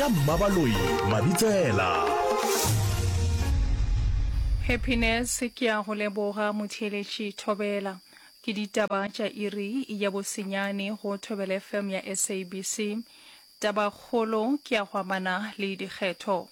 ka Mmabaloi Mabitsela. Happiness ke a go leboga motheeletši Thobela. Ke ditaba tša iri ya bosenyane go Thobela FM ya SABC. Tabakgolo ke ya go amana le dikgetho.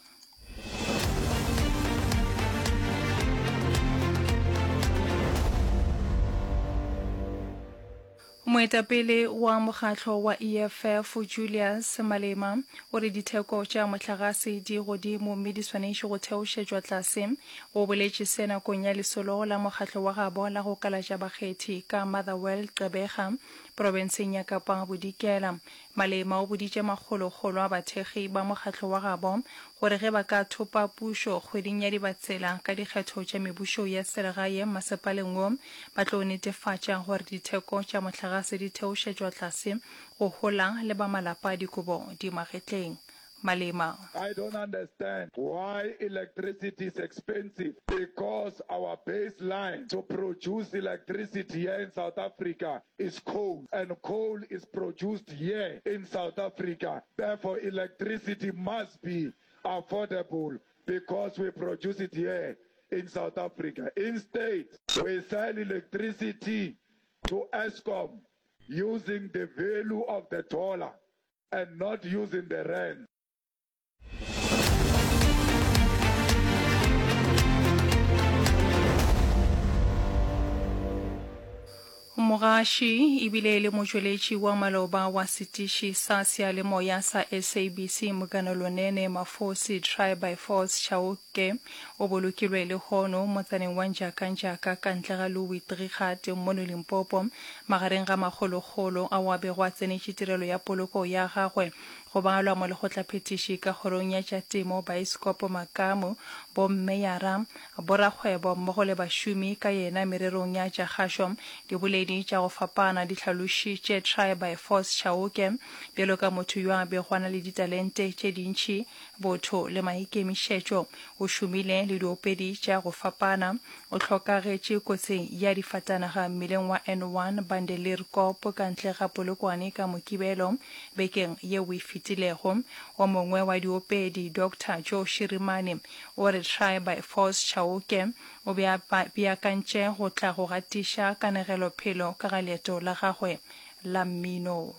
Moetapele wa mokgatlo wa EFF Julius Malema o re ditheko tša mohlagase di godimo mme di swanetše go theošetšwa tlase. O boletše se nakong ya lesolo la mokgatlo wa gabo la go kalatša bakgethi ka Motherwell Gqeberha profenseng ya Kapa Bodikela. Malema o boditše makgolokgolo a bathekgi ba mokgatlo wa gabo gore ge ba ka thopa pušo kgweding ya Dibatsela ka dikgetho tša mebušo ya selegae masepaleng wo, ba tlo netefatša gore ditheko tša mohlagase di theošetšwa tlase go hola le ba malapa a dikobo di magetleng. Malema. I don't understand why electricity is expensive because our baseline to produce electricity here in South Africa is coal and coal is produced here in South Africa therefore electricity must be affordable because we produce it here in South Africa. Instead, we sell electricity to Eskom using the value of the dollar and not using the rand. Mogaši ebile e le motšweletši wa maloba wa setiši sa seyalemoya sa SABC Mokano Lonene Mafosi Try by Force Chauke o bolokilwe lehono motsaneng wa Njakanjaka ka ntle ga Louis Trichardt mono Limpopo magareng ga makgolokgolo ao a bego a tsenetše tirelo ya poloko ya gagwe Go balwa molekgotlaphethiši ka kgorong ya tša temo, baeskopo, makamu, bommeyara, borakgwebo mmogo le bašomi ka yena mererong ya tša kgašo. Diboledi tša go fapana di hlalošitše Try by Force Chauke bjalo ka motho yo a bego a na le ditalente tše dintši, botho le maikemišetšo. O šomile le diopedi tša go fapana. O hlokagetše kotsing ya difatanaga mmileng wa N1 Bandelierkop ka ntle ga Polokwane ka Mokibelo bekeng yeo e fetilego. O mongwe wa diopedi, Doctor Joe Shirimani, o re Try by Force Chauke o be a beakantše go tla go gatiša kanegelophelo ka ga leeto la gagwe la mmino.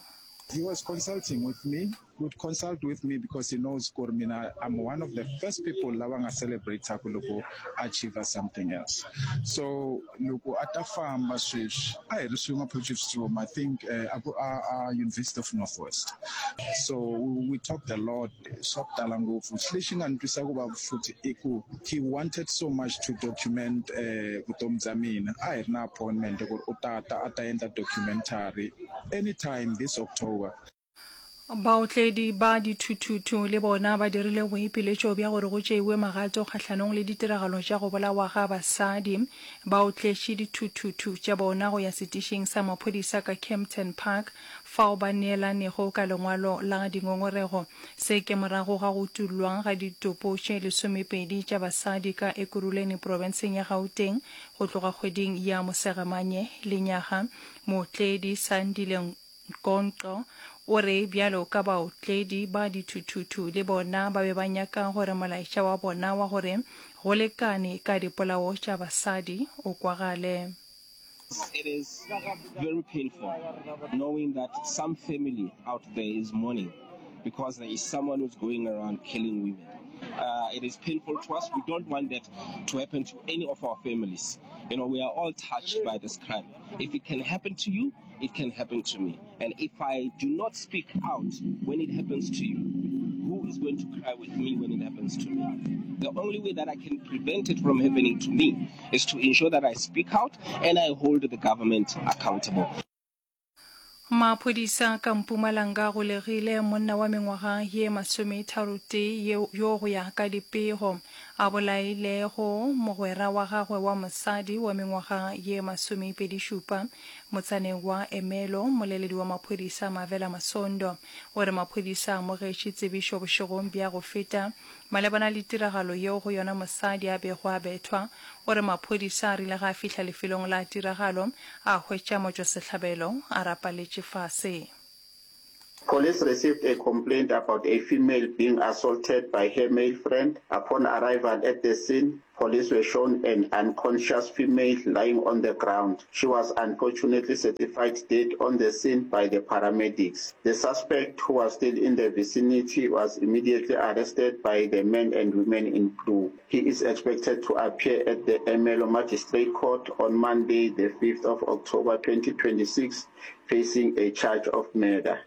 He was consulting with me, he would consult with me because he knows gore mina I'm one of the first people lava nga celebrate-aku loko a achieve something else. So loko a ta famba sweswi a hi ri swin'we Potchefstroom, I think a ku a a University of North West. So we talked a lot swa ku tala ngopfu. Lexi nga ni twisa ku vava futhi i ku he wanted so much to document vutomi bya mina. A hi ri na appointment ku ri u ta ta a ta endla documentary Anytime this October. Baotledi ba dithuthuthu le bona ba dirile boipiletšo bja gore go tšeiwe magato kgahlanong le ditiragalo tša go bolawa ga basadi. Ba otletše dithuthuthu tša bona go ya setišing sa maphodisa ka Kempton Park fao ba neelanego ka lengwalo la dingongorego. Se ke morago ga go utollwa ga ditopo tše lesomepedi tša basadi ka Ekurhuleni profenseng ya Gauteng go tloga kgweding ya Mosegamanye lenyaga. Mootledi Sandile Nkonqo o re bjalo ka baotledi ba dithuthuthu le bona ba be ba nyaka gore molaetša wa bona wa gore go lekane ka dipolao tša basadi o kwagale. It is very painful knowing that some family out there is mourning because there is someone who's going around killing women. Uh, it is painful to us. We don't want that to happen to any of our families. You know, we are all touched by this crime. If it can happen to you, it can happen to me. And if I do not speak out when it happens to you, who is going to cry with me when it happens to me? The only way that I can prevent it from happening to me is to ensure that I speak out and I hold the government accountable. Maphodisa ka Mpumalanga a golegile monna wa mengwaga ye masometharotee yo go ya ka dipego a bolailego mogwera wa gagwe wa mosadi wa mengwaga ye masomepedišupa motsaneng wa Ermelo. Mmoleledi wa maphodisa Mavela Masondo o re maphodisa a amogetše tsebišo bošegong bja go feta Malebana le tiragalo yeo go yona mosadi a bego a bethwa, o re maphodisa a rile ge a fihla lefelong la tiragalo a hwetša motšwasehlabelo a rapaletše fase. Police received a complaint about a female being assaulted by her male friend. Upon arrival at the scene, police were shown an unconscious female lying on the ground. She was unfortunately certified dead on the scene by the paramedics. The suspect, who was still in the vicinity, was immediately arrested by the men and women in blue. He is expected to appear at the Ermelo Magistrate Court on Monday, the 5th of October 2026, facing a charge of murder.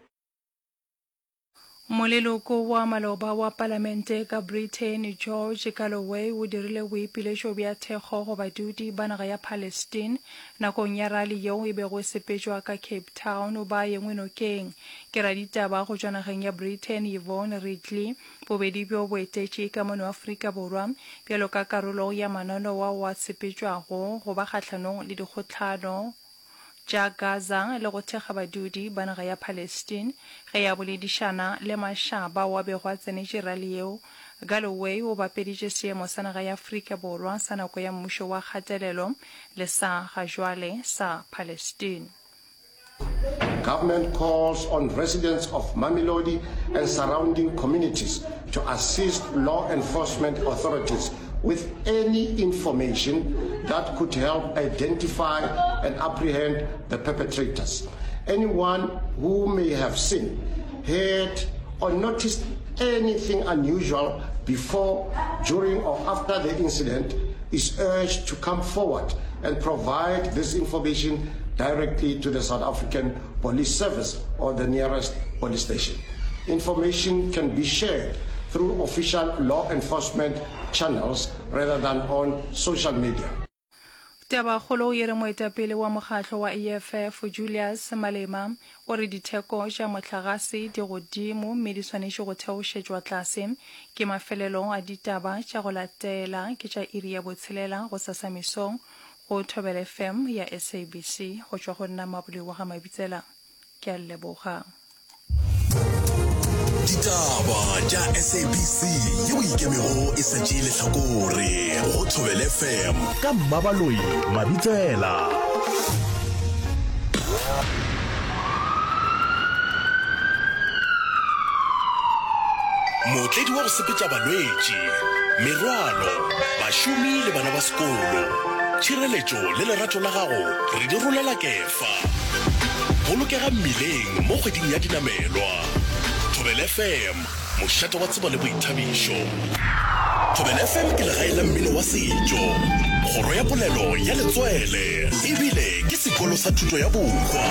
Moleloko wa maloba wa palamente ka Britain George Galloway o dirile boipiletšo bja thekgo go badudi ba naga ya Palestine nakong ya rali yeo e bego e sepetšwa ka Cape Town ba engwe nokeng ke raditaba go tšwa nageng ya Britain Yvonne Ridley. Bobedi bjo bo etetše ka mono Afrika Borwa bjalo ka karolo ya mananeo ao a sepetšwago go ba kgahlanong le dikgohlano tša Gaza le go thekga badudi ba naga ya Palestine. Ge a boledišana le mašaba ao a bego a tsenetše rali yeo, Galloway o bapeditše seemo sa naga ya Afrika Borwa sa nako ya mmušo wa kgatelelo le sa gajwale sa Palestine. Government calls on residents of Mamelodi and surrounding communities to assist law enforcement authorities with any information that could help identify and apprehend the perpetrators. Anyone who may have seen, heard, or noticed anything unusual before, during, or after the incident is urged to come forward and provide this information directly to the South African Police Service or the nearest police station. Information can be shared through official law enforcement channels rather than on social media. Tabakgolo e re moetapele wa mokgatlo wa EFF Julius Malema o re ditheko tša mohlagase di godimo mme di swanetše go theošetšwa tlase. Ke mafelelo a ditaba tša go latela ke tša iri ya botshelela gosasa mesong go Thobela FM ya SABC. Go tšwa go nna Mabole wa ga Mabitsela. Ke a leboga. Ditaba tša SABC yeo e ikemego e sa tšee lehlakore go Thobela FM ka Mmabaloi Mabitsela. Mootledi wa go sepetša balwetši, merwalo, bašomi le bana ba sekolo. Tšhireletšo le lerato la gago re di rolela kefa. Bolokega mmileng mo kgweding ya dinamelwa. Thobela FM, mošate wa tsebo le boithabišo. Thobela FM ke legae la mmino wa setšo, kgoro ya polelo ya letswele, ebile ke sekolo sa thuto ya bohwa.